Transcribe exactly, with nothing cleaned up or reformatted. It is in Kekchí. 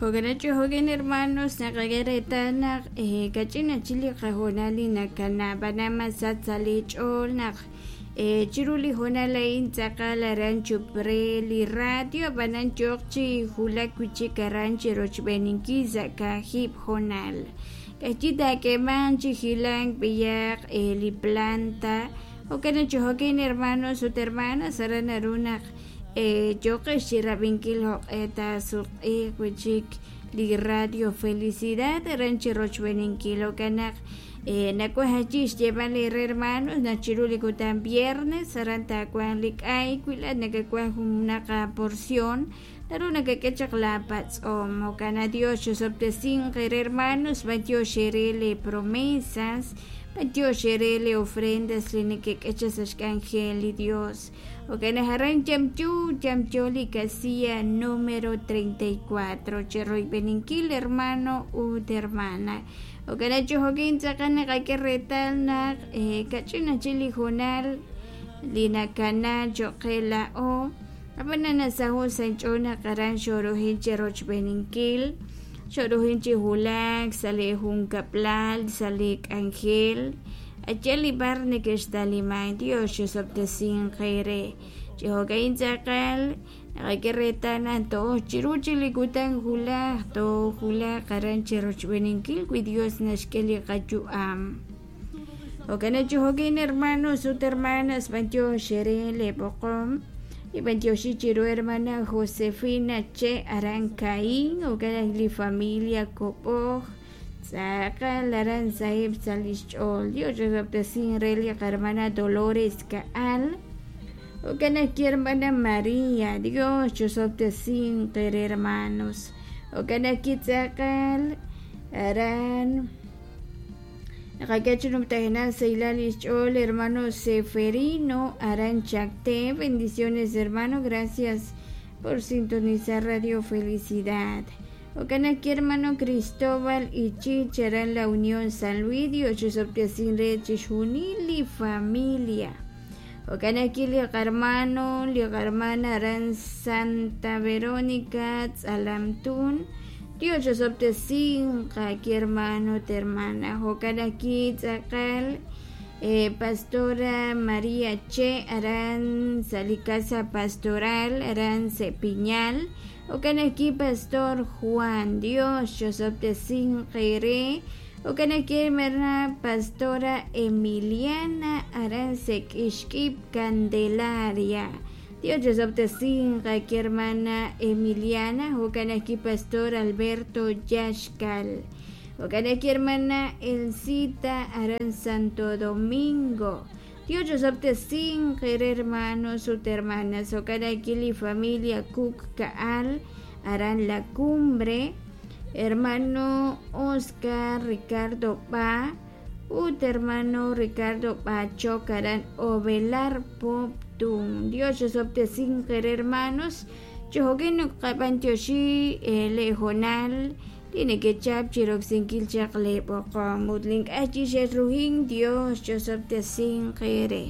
Jo'kan chi jo'kan hermanos naqak'e reetal naq kach'in chik li qahoonal li nakana ab'anan masach sa' li ch'ool naq chiru li hoonal a'in tz'aqal aran chup re li radio ab'anan yooq chi wulak wi' chik aran chi rochb'eeninkil sa' kaahib' hoonal k'ayi taak'eemanq chi hilank b'ayaq li planta jo'kan chi jo'kan hermanos ut hermanas aran naru naq yooqex chi rab'inkil jo'q'e taasutq'iiq wi' chik li radio Felicidad aran chi rochb'eeninkil jo'kan naq nawaj ayi xyeeb'al eere hermanos naq chiru li kutan viernes aran taawanq li k'ay wi laa'at nakawaj junaq aporción naru nakak'e chaq laapatz'om jo'kan Dios chusob'tesinq eere hermanos b'antiox eere li promesas b'antiox eere li ofrendas li nekek'e chaq sa' xk'anjel li Dios jo'kan naq aran yamyo yamyo li casilla número treinta y cuatro chi royb'eninkil hermano ut hermana jo'kan naq chi jo'kan tz'aqal naqak'e reetal naq kach'in chik li hoonal li nakana cho'q qe laa'o ab'anan nasaho' sa' inch'ool naq aran xoorujin chi rochb'eeninkil xoorujin chi wulak sa' li junkab'lal sa' li k'anjel aye li bar neke'xtaliman Dios chusob'tesinq eere chi jo'ka'in tz'aqal naqak'e reetal naq to'oj chiru chik li kutan wulaj toowulaq aran chi rochb'eeninkil wi Dios naxk'e li qayu'am jo'kan naq chi jo'kan hermanos ut hermanas b'antiox eere li b'oqom y b'antioxi chiru hermana Josefina Che aran Caín jo'kan li familia Kob'oj tz'aqal aran sahib' sa' lix ch'ool Dios chusob'tesinq re li qarmana Dolores Ka'al jo'kan naq ki hermana María Dios chusob'tesinq eere hermanos jo'kan naq kitz'aqal aran naqak'e chi numtajenaq sahilal lix ch'ool hermano Seferino aran Chacté bendiciones hermano gracias por sintonizar Radio Felicidad jo'kan naq ki hermano Cristóbal Ichich aran La Unión San Luis Dios chusob'tesinq re chixjunil li familia jo'kan naq ki li qarmano li qarmana aran Santa Verónica Tz'alamtún Dios chusob'tesinq ki hermano ut hermana jo'kan naq ki tz'aqal pastora María Che aran sa' li casa pastoral aran Sepiñal jo'kan naq ki pastor Juan Dios chusob'tesinq eere jo'kan naq ki hermana pastora Emiliana aran Sek'ixk'ib Candelaria Dios chusob'tesinq ki hermana Emiliana jo'kan naq ki pastor Alberto Yaxkal jo'kan naq ki hermana Elcita aran Santo Domingo Dios chusob'tesinq eere hermanos ut hermanas jo'kan naq ki li familia Cook Ka'al aran La Cumbre hermano Oscar Ricardo Ba ut hermano Ricardo Bachok aran Ovelar Poptún Dios chusob'tesinq eere hermanos chi jo'kan qab'antioxi leehoonal li nekechap chi roksinkil chaq li b'oqom ut li ink'a' chi xe'rujin Dios chusob'tesinq eere.